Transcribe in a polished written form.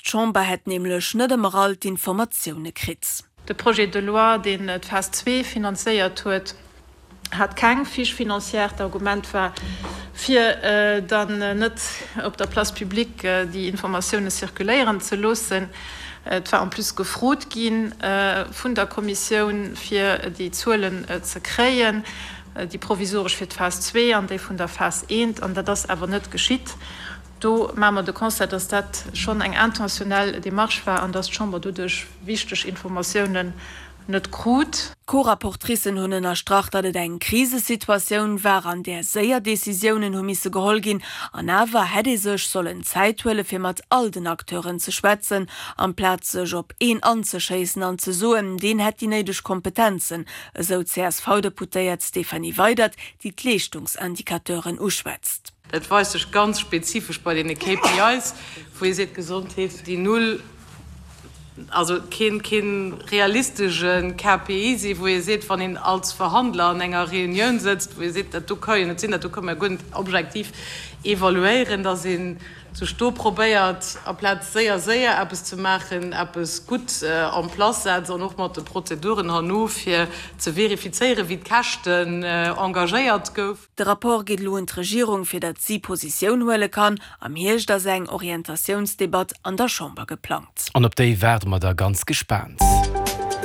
D'Chamber hätt nämlech net ëmmer all d'Informatioune kritt. De Projet de loi, deen d'Phas zwee finanzéiert huet, hat keng Fiche financière. D'Argument war, fir dann net op der Place publique déi Informatioune circuléieren ze loossen. Et war en plus gefrot gi vun der Kommissioun, fir déi Zuelen ze kréien, déi provisoresch fir d'Phas zwee an déi vun der Phas eent, an dat ass awer net geschitt. Do maache mer de Constat, dass dat schonn eng intentionnel Démarche war an dass d'Chamber doduerch wichteg Informatiounen net krut. D'Co-Rapportricen hunn ënnerstrach, datt et eng Krisesituatioun war, an där séier Decisiounen hu misse geholl ginn. An awer hätt ee sech sollen Zäit huele fir mat all den Acteuren ze schwätzen, amplaz sech op een anzeschéissen an ze soen, deen hätt déi néideg Kompetenzen, esou d'CSV-Deputéiert Stéphanie Weydert, déi d'Leeschtungsindicateuren uschwätzt. Dat weist sech ganz spezifesch bei deene KPIs, wou ee seet, Gesondheet, déi null, also keen, kee realistesche KPI sinn, wou ee seet, wann een als Verhandler an enger Reunioun sëtzt, wou ee seet, dat do ka jo net sinn, dat do kënne mer guer net objektiv evaluéieren, dass ee sech do probéiert, amplaz séier, séier eppes ze maachen, eppes gutt en place setzt an och mat de Prozeduren herno, fir ze verifizéieren, wéi d'Käschten engagéiert gouf. De Rapport geet elo un d'Regierung, fir datt si Positioun huele kann. Am Hierscht ass eng Orientatiounsdebatt an der Chamber geplangt. An op déi waarde mer da ganz gespaant.